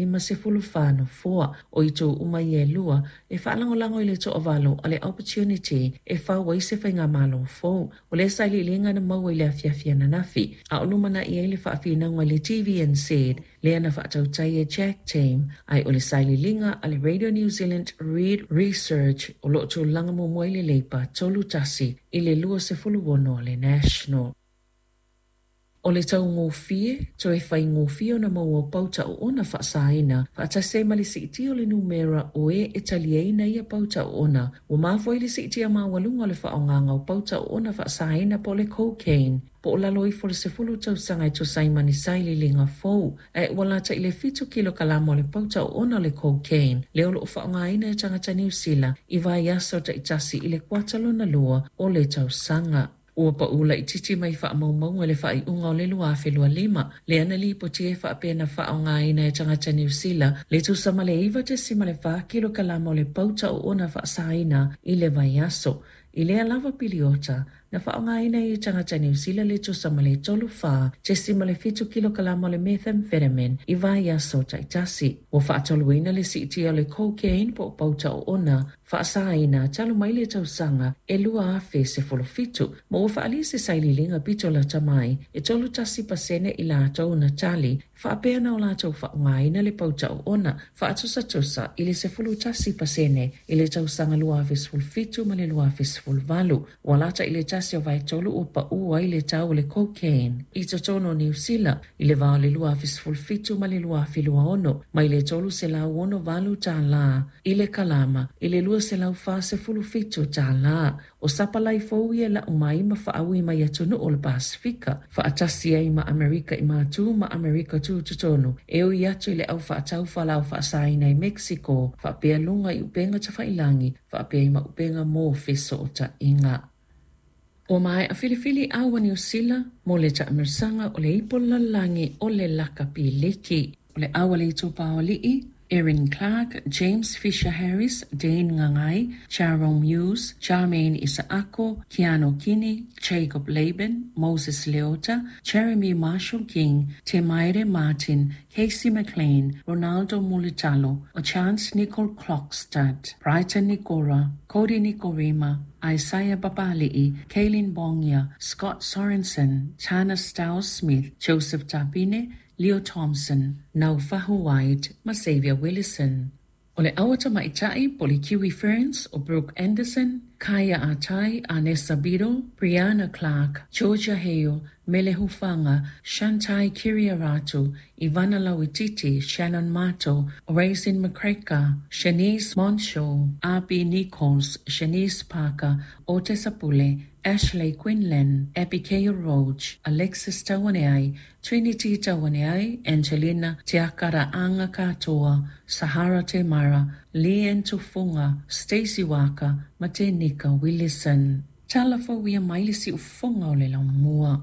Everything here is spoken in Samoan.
54 nofoa. O itu uma ia e lua e faalagolago i le toavalu a le Opportunity e fau ai se faigamalo fou. O lea sailiiliga na maua i le afiafi ananafi, a o lumanai ai le faafinauga i le TVNZ lea na faatautai e Jack Tame, ae o le sailiiliga a le Radio New Zealand Reid Research o lo o tulaga muamua ai le Labour 31 i le 26 a le National. O le taugofie, toe faigofie ona maua pauta oona faasaina, faatasi ai ma le siitia o le numera o e e taliaina ia pauta oona. Ua mafua ai le siitia maualuga o le faaaogaina o pauta oona faasaina po o le cocaine, po o lalo ifo o le 10 tausaga e tusa ai ma ni sailiiliga fou. Ae ua lata i le 7 kilokalama o le pauta oona o le cocaine, lea o lo o faaaogaina e tagata Niu Sila i vaiaso taitasi i le kuata lona lua o le tausaga. Ua paʻu laitiiti mai faamaumauga i le faaiuga o le 2025, lea na lipotia e faapea na faaaogaina e tagata Niu Sila le tusa ma le 9.4 kilokalama o le pauta oona faasaina i le vaiaso. I lea lava piliota, na faaaogaina e tagata Niu Sila le tusa ma le 34.7 kilokalama o le methamphetamine i vaiaso taitasi. Ua faatoluina le siitia o le cocaine po o pauta oona faasaina talu mai le tausaga e 2017, ma ua faaalia se sailiiliga pito lata mai e 31% i latou na tali faapea na o latou faaaogaina le pauta oona, faatusatusa i le 11% i le tausaga 2017 ma le 2018. Ua lata i le tasi o vaetolu ua paʻu ai le tau o le cocaine i totonu o Niu Sila i le va o le 2017 ma le 2026, mai le $368 i le kalama i le $247. O sapalai fou ia e lau mai ma faaui mai atunuu o le Pasifika, faatasi ai ma Amerika i Matu ma Amerika Tutotonu, e ui atu i le au faatau fualaau faasaina i Mexico, faapea luga i upega tafailagi, faapea ai ma upega mo fesootaiga. Ua maea filifili au a Niu Sila mo le taamilosaga o le Ipu o le Lalolagi o le Lakapi Liki. O le au a le Itupa o Alii, Erin Clark, James Fisher Harris, Dane Gagai, Jahrome Hughes, Charmaine Isaako, Keano Kini, Jacob Laban, Moses Leota, Jeremy Marshall King, Te Maire Martin, Casey McLean, Ronaldo Mulitalo, o Chance Nicoll-Klokstad, Brighton Nikora, Kodi Nikorima, Isaiah Papali'i, Kaylin Pongia, Scott Sorensen, Tana Stiles-Smith, Joseph Tapine, Leo Thompson, Naufahu Whyte ma Xavier Willison. O le au a tamaitai po o le Kiwi Ferns o Brooke Anderson, Kyah Ah-Tai, Anessa Beadle, Brianna Clark, Georgia Hale, Mele Hufanga, Shantai Kiria-Ratu, Ivana Lauititi, Shannon Mato, Raecene McGregor, Shanice Montsho, Abby Nichols, Shanice Parker, Otesa Pule, Ashley Quinlan, Abigail Roach, Alexis Tauaneai, Trinity Tauaneai, Angelina Te Akaraanga Katoa, Sahara Te Mara, Leanne Tufunga, Stacey Waaka ma Tenika Willison. Tala fou ia mai le siufofoga o le laumua.